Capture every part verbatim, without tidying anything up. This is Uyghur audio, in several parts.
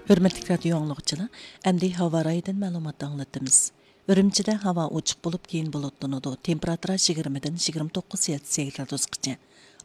ھۆرمەتلىك رادىيو ئاڭلىغۇچىلار، ئەمدى ھاۋا رايىدىن مەلۇمات ئاڭلىتىمىز. ئۈرۈمچىدە ھاۋا ئوچۇق بولۇپ، كېيىن بۇلۇتلىنىدۇ. تېمپېراتۇرا يىگىرمىدىن يىگىرمە توققۇز سېلسىيە گرادۇسقىچە.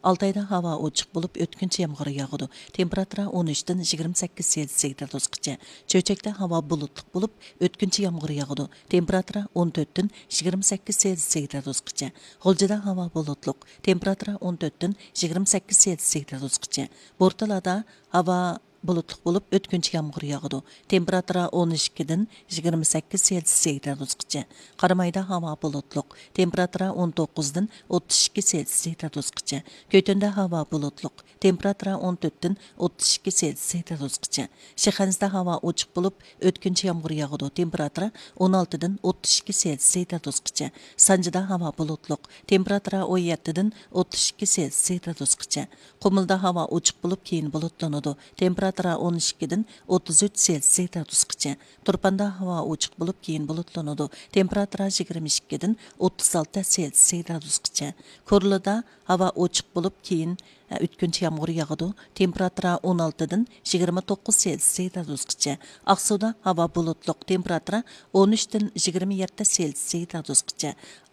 ئالتايدا ھاۋا ئوچۇق بولۇپ، ئۆتكۈنچى يامغۇر ياغىدۇ. تېمپېراتۇرا ئون ئۈچتىن يىگىرمە سەككىز سېلسىيە گرادۇسقىچە. چۆچەكتە ھاۋا بۇلۇتلۇق بولۇپ، ئۆتكۈنچى يامغۇر ياغىدۇ. تېمپېراتۇرا ئون تۆتتىن يىگىرمە سەككىز سېلسىيە گرادۇسقىچە. غۇلجىدا ھاۋا بۇلۇتلۇق. تېمپېراتۇرا ئون تۆتتىن يىگىرمە سەككىز سېلسىيە گرادۇسقىچە. بورتالادا ھاۋا بۇلۇتلۇق بولۇپ، ئۆتكۈنچى يامغۇر ياغىدۇ. تېمپېراتۇرا ئون ئىككىدىن يىگىرمە سەككىز سېلسىيە گرادۇسقىچە. قارامايدا ھاۋا بۇلۇتلۇق. تېمپېراتۇرا ئون توققۇزدىن ئوتتۇز ئىككى سېلسىيە گرادۇسقىچە. كۆتۈندە ھاۋا بۇلۇتلۇق. تېمپېراتۇرا ئون تۆتتىن ئوتتۇز ئىككى سېلسىيە گرادۇسقىچە. شىخەنزىدە ھاۋا ئوچۇق بولۇپ، ئۆتكۈنچى يامغۇر ياغىدۇ. تېمپېراتۇرا ئون ئالتىدىن ئوتتۇز ئىككى سېلسىيە گرادۇسقىچە. سانجىدا ھاۋا بۇلۇتلۇق. تېمپېراتۇرا ئون يەتتىدىن ئوتتۇز ئىككى سېلسىيە گرادۇسقىچە. قۇمۇلدا ھاۋا ئوچۇق بولۇپ، كېيىن بۇلۇتلىنىدۇ. تېمپېراتۇرا ئون ئىككىدىن ئوتتۇز ئۈچ سېلسىيە گرادۇسقىچە. تۇرپاندا ھاۋا ئوچۇق بولۇپ، كېيىن بۇلۇتلىنىدۇ. تېمپېراتۇرا يىگىرمە ئىككىدىن ئوتتۇز ئالتە سېلسىيە گرادۇسقىچە. كورلىدا ھاۋا ئوچۇق بولۇپ، كېيىن، ئە، ئۆتكۈنچى يامغۇر ياغىدۇ. تېمپېراتۇرا ئون ئالتىدىن يىگىرمە توققۇز سېلسىيە گرادۇسقىچە. ئاقسۇدا ھاۋا بۇلۇتلۇق. تېمپېراتۇرا ئون ئۈچتىن يىگىرمە يەتتە سېلسىيە گرادۇسقىچە.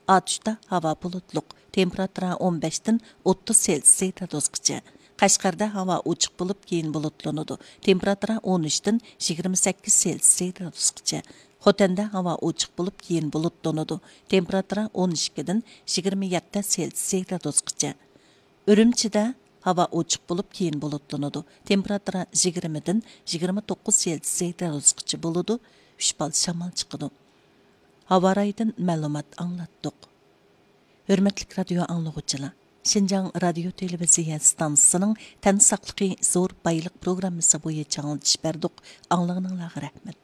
ئاتۇشتا ھاۋا بۇلۇتلۇق. تېمپېراتۇرا ئون بەشتىن ئوتتۇز سېلسىيە گرادۇسقىچە. قەشقەردە ھاۋا ئوچۇق بولۇپ، كېيىن بۇلۇتلىنىدۇ. تېمپېراتۇرا ئون ئۈچتىن يىگىرمە سەككىز سېلسىيە گرادۇسقىچە. خوتەندە ھاۋا ئوچۇق بولۇپ، كېيىن بۇلۇتلىنىدۇ. تېمپېراتۇرا ئون ئىككىدىن يىگىرمە يەتتە سېلسىيە گرادۇسقىچە. ئۈرۈمچىدە ھاۋا ئوچۇق بولۇپ، كېيىن بۇلۇتلىنىدۇ. تېمپېراتۇرا يىگىرمىدىن يىگىرمە توققۇز سېلسىيە گرادۇسقىچە بولىدۇ. ئۈچ بال شامال چىقىدۇ. ھاۋا رايىدىن مەلۇمات ئاڭلاتتۇق. ھۆرمەتلىك رادىيو ئاڭلىغۇچىلار، شىنجاڭ رادىيو تېلېۋىزىيە ئىستانسىسىنىڭ تەن ساقلىقى زور بايلىق پروگراممىسى بويىچە ئاڭلىتىش بەردۇق. ئاڭلىغىنىڭلارغا رەھمەت.